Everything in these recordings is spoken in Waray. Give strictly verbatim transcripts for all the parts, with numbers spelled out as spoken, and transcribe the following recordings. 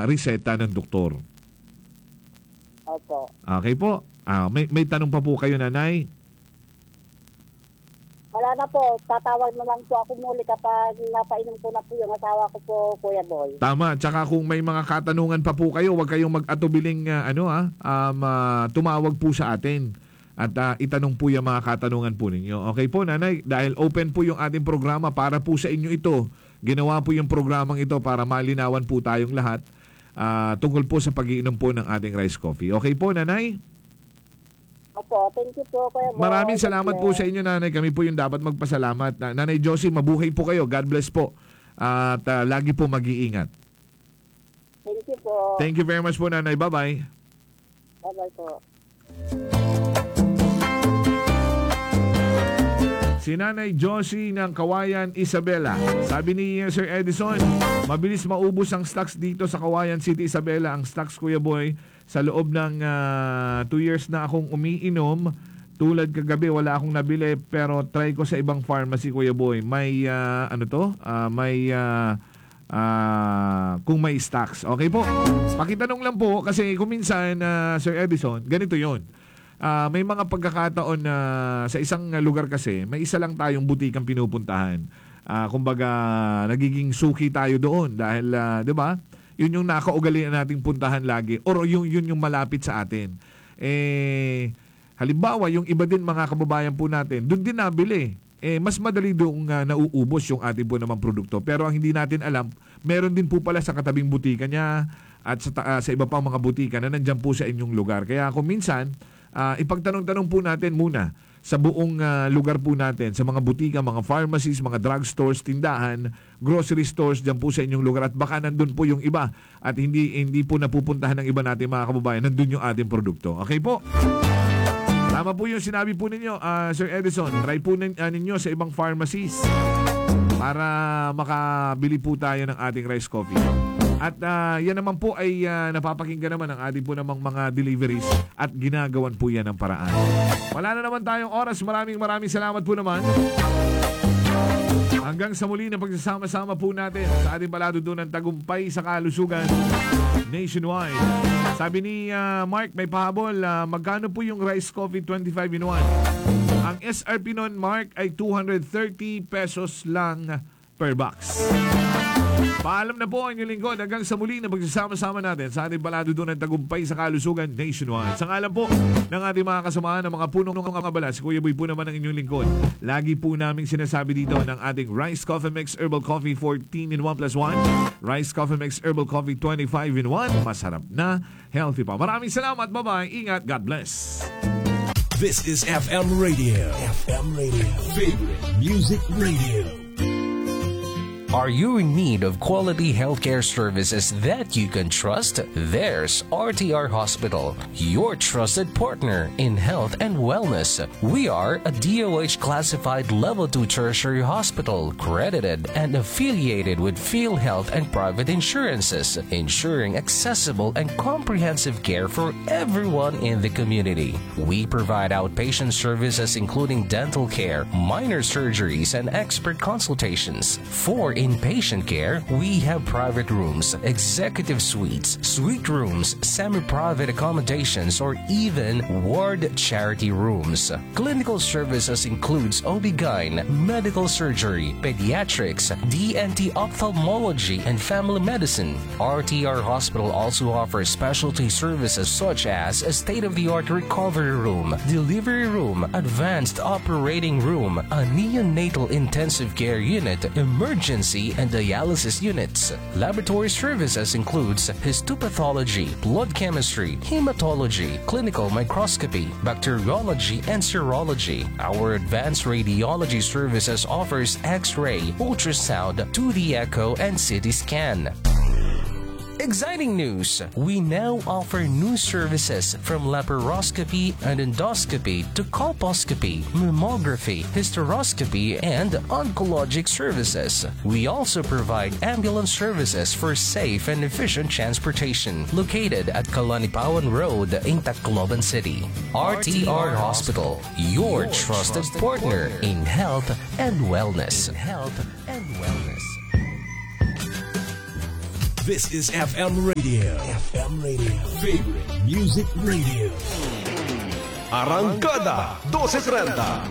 reseta ng doktor. Opo. Okay po. Ah, may, may tanong pa po kayo, Nanay? Wala na po. Tatawag na lang po ako muli kapag napainom ko na po yung asawa ko po, Kuya Boy. Tama. Tsaka kung may mga katanungan pa po kayo, huwag kayong mag-atubiling, ah, ano, ah, um, ah, tumawag po sa atin. At, ah, itanong po yung mga katanungan po ninyo. Okay po, Nanay? Dahil open po yung ating programa para po sa inyo ito. Ginawa po yung programang ito para malinawan po tayong lahat, ah, tungkol po sa pag-iinom po ng ating rice coffee. Okay po, Nanay? Opo, thank you po, Kuya Boy. Maraming salamat po sa inyo, Nanay. Kami po yung dapat magpasalamat. Na-, Nanay Josie, mabuhay po kayo. God bless po. At, ah, lagi po mag-iingat. Thank you po. Thank you very much po, Nanay. Bye-bye. Bye-bye po. Si Nanay Josie ng Kawayan, Isabela. Sabi ni, uh, Sir Edison, mabilis maubos ang stocks dito sa Kawayan City, Isabela. Ang stocks, Kuya Boy, sa loob ng, ah, two years na akong umiinom. Tulad kagabi, wala akong nabili, pero try ko sa ibang pharmacy, Kuya Boy. May, ah, ano to? Ah, may, ah, ah, kung may stocks. Okay po. Pakitanong lang po, kasi kung minsan, ah, Sir Edison, ganito yon. Ah, may mga pagkakataon na sa isang lugar kasi, may isa lang tayong butikang pinupuntahan. Ah, kumbaga, nagiging suki tayo doon dahil, ah, di ba? Yun yung nakaugalian nating puntahan lagi or yung, yun yung malapit sa atin. Eh, halimbawa, yung iba din mga kababayan po natin, doon din nabili. Eh, mas madali doong, ah, nauubos yung ating po namang produkto. Pero ang hindi natin alam, meron din po pala sa katabing butika niya at sa ta-, ah, sa iba pang mga butika na nandyan po sa inyong lugar. Kaya kung minsan, ah, ipagtanong-tanong po natin muna sa buong, ah, lugar po natin, sa mga butika, mga pharmacies, mga drugstores, tindahan, grocery stores dyan po sa inyong lugar. At baka nandun po yung iba at hindi, hindi po napupuntahan ng iba nating mga kababayan, nandun yung ating produkto. Okay po? Tama po yung sinabi po ninyo, ah, Sir Edison. Try po nin-, ah, ninyo sa ibang pharmacies para makabili po tayo ng ating rice coffee. At, ah, yan naman po ay, ah, napapakinggan naman ng ating po namang mga deliveries at ginagawan po yan ng paraan. Wala na naman tayong oras. Maraming, maraming salamat po naman. Hanggang sa muli na pagsasama-sama po natin sa ating palatuntunan, Tagumpay sa Kalusugan Nationwide. Sabi ni, ah, Mark, may pahabol, ah, magkano po yung rice coffee twenty-five in one? Ang S R P nun, Mark, ay two hundred thirty pesos lang per box. Paalam na po ang inyong lingkod. Hanggang sa muli na pagsasama-sama natin sa ating palatuntunan, Tagumpay sa Kalusugan Nationwide. Sa ngalan po ng ating mga kasamahan, ng mga punong mga abala, si Kuya Boy po naman ang inyong lingkod. Lagi po naming sinasabi dito ng ating Rice Coffee Mix Herbal Coffee fourteen in one plus one, Rice Coffee Mix Herbal Coffee twenty-five in one. Masarap na, healthy pa. Maraming salamat. Bye-bye. Ingat. God bless. This is F M Radio. F M Radio. Favorite Music Radio. Are you in need of quality healthcare services that you can trust? There's R T R Hospital, your trusted partner in health and wellness. We are a D O H classified level two tertiary hospital, credited and affiliated with PhilHealth and private insurances, ensuring accessible and comprehensive care for everyone in the community. We provide outpatient services including dental care, minor surgeries, and expert consultations. For inpatient care, we have private rooms, executive suites, suite rooms, semi-private accommodations, or even ward charity rooms. Clinical services includes O B-gyn, medical surgery, pediatrics, D N T, ophthalmology, and family medicine. R T R Hospital also offers specialty services such as a state-of-the-art recovery room, delivery room, advanced operating room, a neonatal intensive care unit, emergency and dialysis units. Laboratory services includes histopathology, blood chemistry, hematology, clinical microscopy, bacteriology, and serology. Our advanced radiology services offers X-ray, ultrasound, two D echo, and C T scan. Exciting news! We now offer new services from laparoscopy and endoscopy to colposcopy, mammography, hysteroscopy, and oncologic services. We also provide ambulance services for safe and efficient transportation, located at Kalanipawan Road in Tacloban City. R T R Hospital, your trusted partner in health and wellness. In health and wellness. This is F M Radio. F M Radio. Favorite Music Radio. Arangkada dose trenta.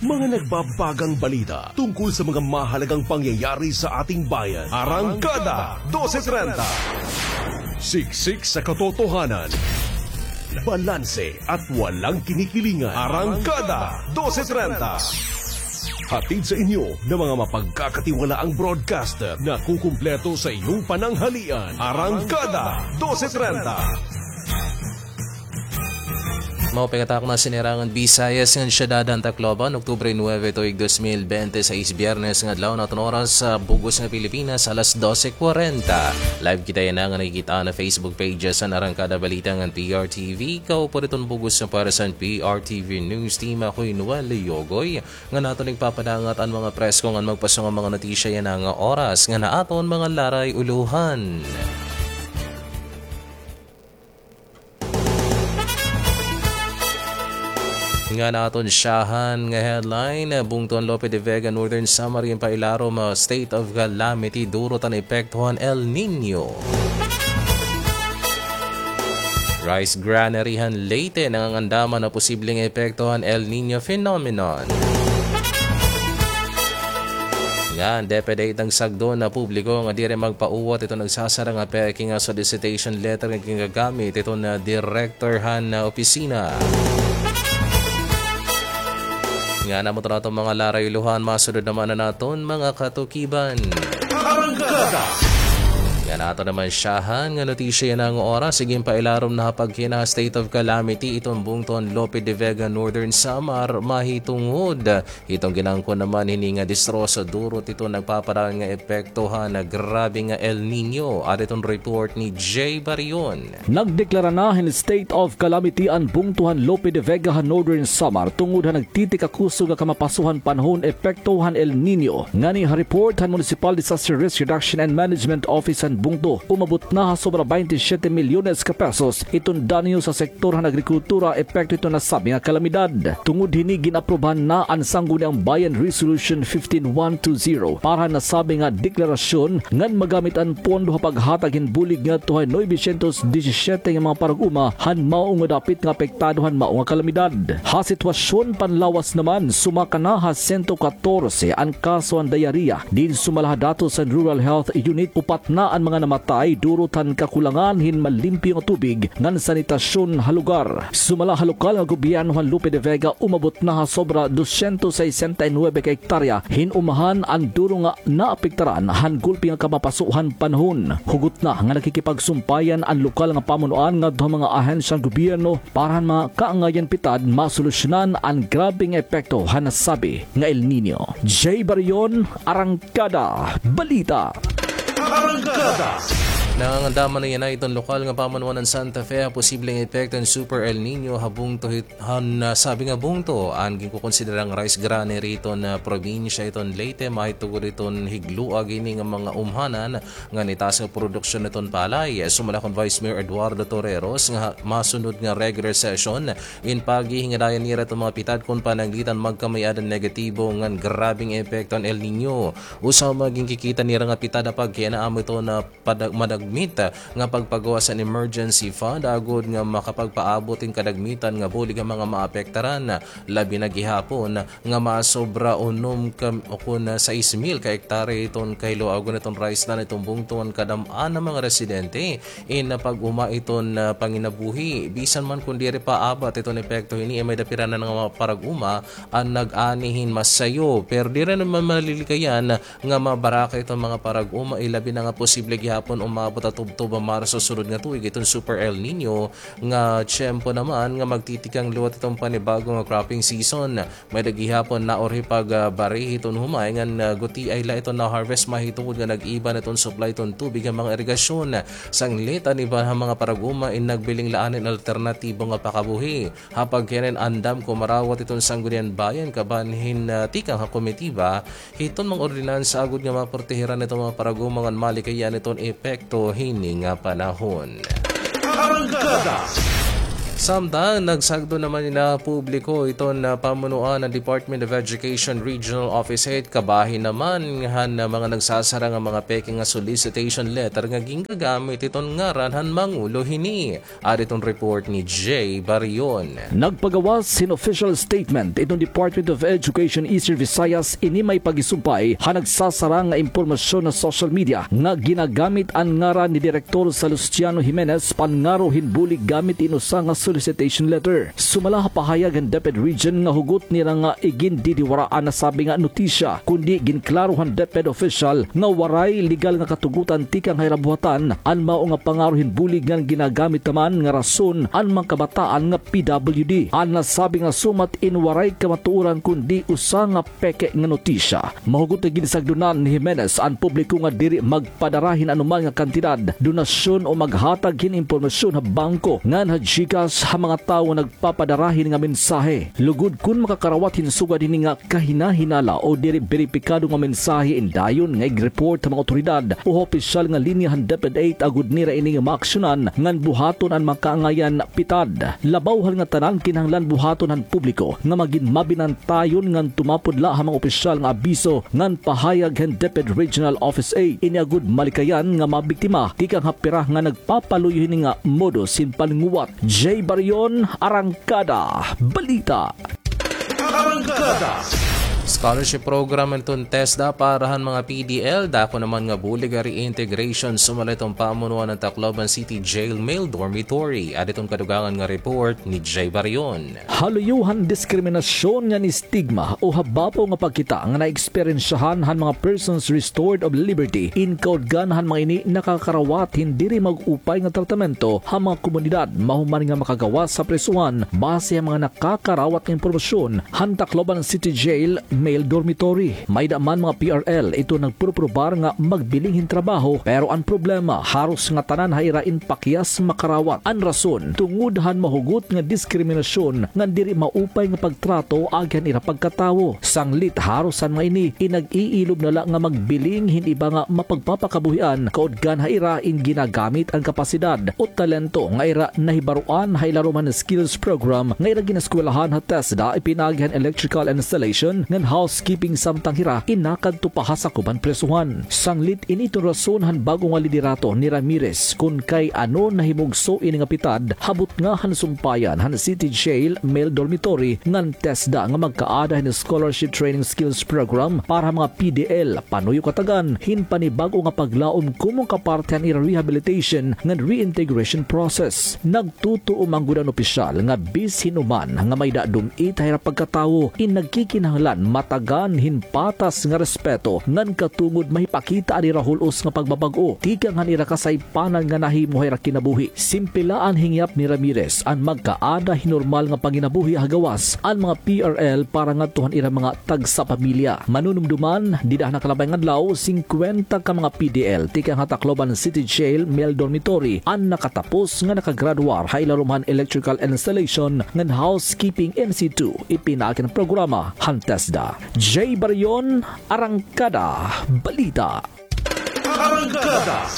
Mga nagbabagang balita tungkol sa mga mahalagang pangyayari sa ating bayan. Arangkada dose trenta. Siksik sa katotohanan. Balanse at walang kinikilingan. Arangkada dose trenta. Hatid sa inyo ng mga mapagkakatiwalaang broadcaster na kukumpleto sa iyong pananghalian. Arangkada dose trenta. Mao pa it aton nga sinirangan Bisayas ngan Syudad han Tacloban, Oktubre nuebe, tuig dos mil bente seis, Biyernes nga adlaw, an aton oras sa bug-os nga Pilipinas, alas dose kwarenta. Live kita yana nga nakikit-an ha Facebook pages han Arangkada Balita ngan P R T V. Kaupo hiton bug-os nga pares han P R T V News Team, ako hi Noel Yogoy, ngan aton igpapadangat an mga presko ngan magpaso nga mga notisya yana nga oras ngan ha aton mga laray-ulohan. Ngan aton syahan nga headline, bungto han Lope de Vega, Northern Samar, ginpailarom nga state of calamity, durot an epekto han El Niño. Rice granary han Leyte, nangangandaman ha posibleng epekto han El Niño phenomenon. Ngan DepEd nagsagsang han publiko nga diri magpauwat hiton nagsasarang nga peke nga solicitation letter nga gingagamit hiton direktor han opisina. Ngan amo ito an aton mga laray-ulohan, masunod naman an aton mga katukiban. Arangkada. Ngan aton naman syahan nga notisya yana nga oras, ginpailarom na ha pagkinaha state of calamity iton bungto han Lope de Vega, Northern Samar, mahitungod hiton ginangkon naman hini nga distroso, durot hiton nagpapadayon nga epekto han grabe nga El Niño. Adi iton report ni Jay Barion. Nagdeklara na hin state of calamity an bungto han Lope de Vega ha Northern Samar tungod ha nagtitikakusog nga kamapaso han panahon epekto han El Niño. Ngani ha report han Municipal Disaster Risk Reduction and Management Office han bungto, umabot na ha sobra baynte siyete milyones ka pesos iton danyo sa sektor han agrikultura epekto hiton nasabi nga kalamidad. Tungod hini, gin-aprubahan na han Sangguniang Bayan Resolution fifteen one two zero para han nasabi nga deklarasyon ngan magamit an pondo ha paghatag hin bulig ngadto ha nuebe syentos disisiete nga mga parag-uma han mao nga dapit nga apektado han mao nga kalamidad. Ha sitwasyon panlawas naman, sumaka na ha sento katorse an kaso han diarrhea. Diin sumala ha datos han Rural Health Unit, upat na an mga namatay durot han kakulangan hin malimpyo nga tubig ngan sanitasyon ha lugar. Sumala ha lokal nga gobyerno han Lope de Vega, umabot na ha sobra dosyentos sesenta y nuebe ka hektarya hin umahan an duro nga naapektaran han gulpi nga kamapaso han panahon. Hugot na nga nakikipagsumpayan an lokal nga pamunuan ngadto ha mga ahensya han gobyerno para han mga kaangayan pitad masolusyonan an grabe nga epekto han nasabi nga El Niño. Jay Barion, Arangkada Balita. Arangkada. Nangangandaman na yana iton lokal nga pamunuan han Santa Fe ha posibleng epekto han Super El Niño ha bungto hit-, han, ah, sabi nga bungto. An ginkukonsidera nga rice granary hiton, ah, probinsya hiton Leyte, mahitungod hiton higloag hini nga mga umhanan ngan itaas nga produksyon hiton palay. Sumala kan Vice Mayor Eduardo Torreros nga masunod nga regular session in paghihingadayan nira iton mga pitad kon pananglitan magkamay-ada han negatibo ngan grabeng epekto han El Niño. Usa man ginkikita nira nga pitad ha pagkinaamo iton padag-, madagmit nga pagpagawas han emergency fund agod nga makapagpaabot hin kadagmitan nga bulig han mga maapektaran, labi na gihapon nga masobra unom ka, o kon sais mil ka hektarya iton kahiluagon hiton rice land hiton bungto ngan kadam-an han mga residente in pag-uma hiton, ah, panginabuhi. Bisan man kon diri pa abat hiton epekto hini, may-ada pira na nga mga parag-uma an nag-ani hin masayo. Pero diri naman malilikayan nga mabaraka iton mga parag-uma, ilabi na nga posible gihapon umabot ha tubtob han Marso sunod nga tuig iton Super El Niño nga tiyempo naman nga magtitikang liwat iton panibago nga cropping season. May-ada gihapon naurhi pagbari hiton humay ngan, ah, gutiay la iton na-harvest mahitungod nga nag-iba na iton supply iton tubig han mga irigasyon. Sanglit an iba han mga parag-uma in nagbiling la anin alternatibo nga pakabuhi. Ha pagkinain-andam, kumarawat iton Sangguniang Bayan kaban hin, ah, tikang ha komitiba hiton mga ordinansa agod nga maprotehiran iton mga parag-uma ngan malikayan iton epekto hini nga panahon. Arangkada. Samtang nagsagdo naman ini ha publiko iton pamunuan han Department of Education Regional Office eight, kabahin naman han mga nagsasara nga mga peke nga solicitation letter nga gingagamit iton ngaran han mangulo hini. Adi iton report ni Jay Barion. Nagpagawas hin official statement iton Department of Education Eastern Visayas ini may pagisumpay ha nagsasara nga impormasyon ha social media nga ginagamit an ngaran ni Direktor Salustiano Jimenez pangaro hin bulig gamit in usa nga solicitation letter. Sumala ha pahayag han DepEd Region nga hugot nira nga igindidiwaraan nasabi nga notisya, kundi ginklaro han DepEd official nga waray legal nga katugotan tikang ha ira buhatan an mao nga pangaro hin bulig ngan ginagamit naman nga rason an mga kabataan nga P W D. An nasabi nga sumat in waray kamatuoran kundi usa nga peke nga notisya. Mahugot nga ginsagdonan ni Jimenez an publiko nga diri magpadara hin anoman nga kantidad, donasyon o maghatag hin impormasyon ha bangko ngan ha GCash ha mga tawo nga nagpapadara hini nga mensahe. Lugod kon makakarawat hin sugad hini nga kahinahinala o diri beripikado nga mensahe, in dayon nga ig-report ha mga awtoridad o ha opisyal nga linya han DepEd eight agod nira ini nga maaksyonan ngan buhaton an mga kaangayan pitad. Labaw han ngatanan, kinahanglan buhaton han publiko nga magin mabinantayon ngan tumapod la ha mga opisyal nga abiso ngan pahayag han DepEd Regional Office eight. Ini agod malikayan nga mabiktima tikang ha pira nga nagpapaluyo hini nga modus hin palinguwat. Jay Barion, Arangkada Balita. Arangkada. Scholarship program iton TESDA para han mga P D L, dako naman nga bulig nga reintegration sumala iton pamunuan han Tacloban City Jail Male Dormitory. Adi iton kadugangan nga report ni Jay Barion. Ha luyo han diskriminasyon ngan istigma o ha babaw nga pagkita nga naeksperyensyahan han mga persons restored of liberty, in kautgan han mga ini nakakarawat hin diri mag-upay nga tratamento ha mga komunidad mahuman nga makagawas ha prisohan, base ha mga nakakarawat nga impormasyon han Tacloban City Jail Male Dormitory. May-ada man mga P R L iton nagpuruprobar nga magbiling hin trabaho, pero an problema haros ngatanan ha ira in pakyas makarawat. An rason, tungod han mahugot nga diskriminasyon ngan diri maupay nga pagtrato agi han ira pagkatawo. Sanglit haros han mga ini in nag-iilob na la nga magbiling hin iba nga mapagpapakabuhian kautgan ha ira in ginagamit an kapasidad o talento nga ira nahibaroan ha ilarom han skills program nga ira gineskwelahan ha TESDA, ipinaagi han electrical installation ngan housekeeping samtang hira in nakadto pa ha sakob han prisohan. Sanglit ini iton rason han bag-o nga liderato ni Ramirez kon kay ano nahimugso ini nga pitad ha butnga han sumpayan han City Jail Male Dormitory ngan TESDA nga magkaada hin scholarship training skills program para ha mga P D L, panuyo katagan hin panibag-o nga paglaom komo kaparte han ira rehabilitation ngan reintegration process. Nagtutuo man gud an opisyal nga bisan hin uman nga may-ada dum-it ha ira pagkatawo, in nagkikinahanglan matagan hin patas nga respeto ngan katungod mahipakita an ira hul-os nga pagbabag-o tikang han ira kasaypanan nga nahimo ha ira kinabuhi. Simple la an hingyap ni Ramirez, an magkaada hin normal nga panginabuhi ha gawas an mga P R L para ngadto han ira mga tagsapamilya. Manunumdoman, dida ha nakalabay nga adlaw, singkwenta ka mga P D L tikang ha Tacloban City Jail Male Dormitory an nakatapos nga nakagraduar ha ilarom han electrical installation ngan housekeeping in situ, ipinaagi han programa han TESDA. Jay Barion, Arangkada Balita. Arangkada.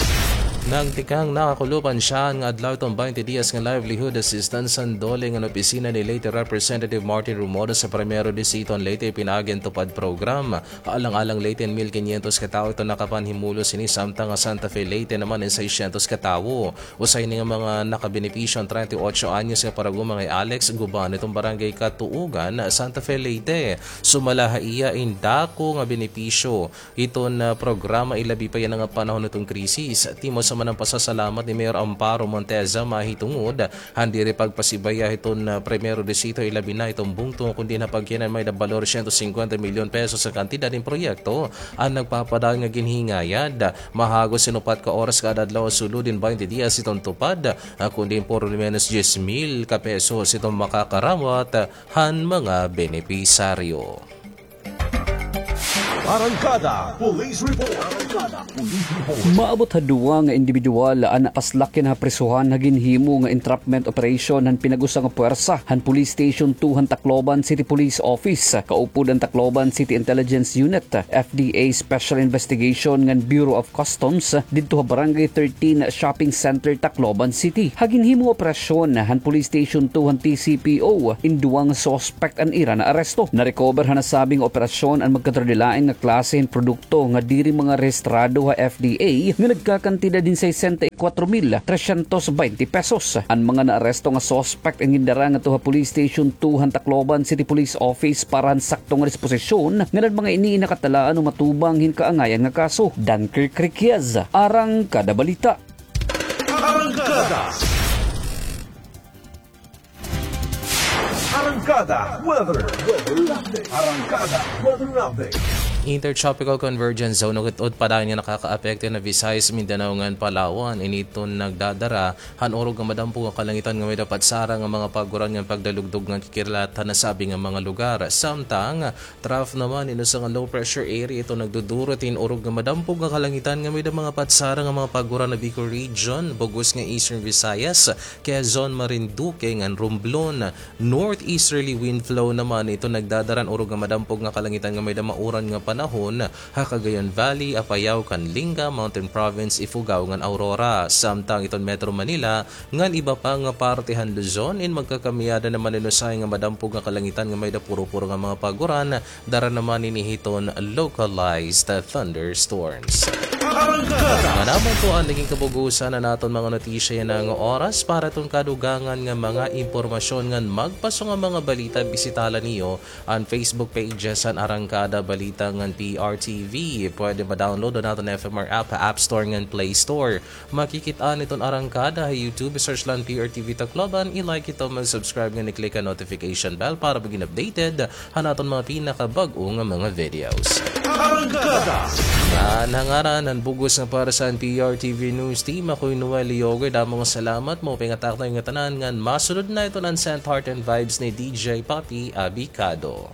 Nagtikang nakakulop an syahan nga adlaw iton baynte diyes nga livelihood assistance han DOLE ngan opisina ni Leyte Representative Martin Romualdez ha Primero Distrito han Leyte, ipinaagi an TUPAD program. Ha Alang-alang Leyte, mil kinyentos ka tawo iton nakapanhimulos hini, samtang ha Santa Fe Leyte naman in seisyentos ka tawo. Usa hini nga mga nakabenepisyo an treinta y ocho anyos nga parag-uma nga hi Alex Guban iton Barangay Katuugan, Santa Fe Leyte. Sumala ha iya in dako nga benepisyo iton, ah, programa, ilabi pa yana nga panahon iton krisis. Timos man an pasasalamat ni Mayor Amparo Monteza mahitungod han diri pagpasibaya hiton, ah, Primero Distrito, ilabi na hiton bungto, kundi na pagkinan may-ada balor siyento singkwenta milyon pesos an kantidad hin proyekto an nagpapadayon nga ginhingayad. Mahagos hin upat ka oras kada adlaw sulod hin baynte diyes hiton TUPAD, ah, kundi por lo menos diyes mil ka pesos hiton makakarawat han mga benepisaryo. Arangkada Police Report. Arangkada Police Report. Maabot ha duha nga indibidwal an napaslak yana ha prisohan ha ginhimo nga entrapment operation han pinag-usa nga puwersa han Police Station two han Tacloban City Police Office, kaupod an Tacloban City Intelligence Unit, F D A Special Investigation ngan Bureau of Customs didto ha Barangay thirteen Shopping Center, Tacloban City. Ha ginhimo nga operasyon han Police Station two han T C P O, in duha nga suspect an ira naaresto. Na-recover ha nasabi nga operasyon an magkaduradilain nga klase hin produkto nga diri mga rehistrado ha F D A nga nagkakantidad hin sesenta y kuwatro mil tresyentos baynte pesos. An mga naaresto nga suspect an gindara ngadto ha Police Station two han Tacloban City Police Office para han sakto nga disposisyon ngan an mga ini nakatalaan o matubang hin kaangayan nga kaso. Dunkirk Riquez, Arangkada Balita. Arangkada. Arangkada Weather. Arangkada Weather Update. Intertropical Convergence Zone, ugot-ugot pa dayon nga nakakaapekto na Visayas, Mindanao ngan Palawan. Ini iton nagdadara han urog nga madampog nga kalangitan nga may-ada patsara nga mga paguran ngan pagdalugdog ngan kikirlat han nasabi nga mga lugar. Samtang trough naman, inusa nga low pressure area, iton nagdudurot hin urog nga madampog nga kalangitan nga may-ada mga patsara nga mga paguran ha Bicol Region, bug-os nga Eastern Visayas, Quezon, Marinduque ngan Romblon. Northeasterly wind flow naman, iton nagdadara han urog nga madampog nga kalangitan nga may-ada mauran nga panahon ha Cagayan Valley, Apayao, Canlinga, Mountain Province, Ifugao ngan Aurora. Samtang iton Metro Manila ngan iba pa nga parte han Luzon, in magkakamiyada naman hin usahay nga madampog nga kalangitan nga may-ada puro-puro nga mga paguran, dara naman ini hiton localized thunderstorms. Arangkada. Nga naman po an naging kabug-osan han aton mga notisya yana nga oras. Para hiton kadugangan nga mga impormasyon ngan magpaso nga mga balita, bisita la niyo an Facebook pages han Arangkada Balita ngan P R T V. Pwede ma-download an aton F M R app ha App Store ngan Play Store. Makikit-an iton Arangkada ha YouTube, search la an P R T V Tacloban, i-like ito, mag-subscribe ngan i-click an notification bell para magin updated han aton mga pinakabag-o nga mga videos. Arangkada. Ngan ha ngaran han bug-os nga pwersa han P R T V News Team, ako hi Noel Leoger, damo nga salamat, maupay nga takna ha iyo ngatanan, ngan masunod na iton Uncensored Heart and Vibes ni D J Papi Abicado.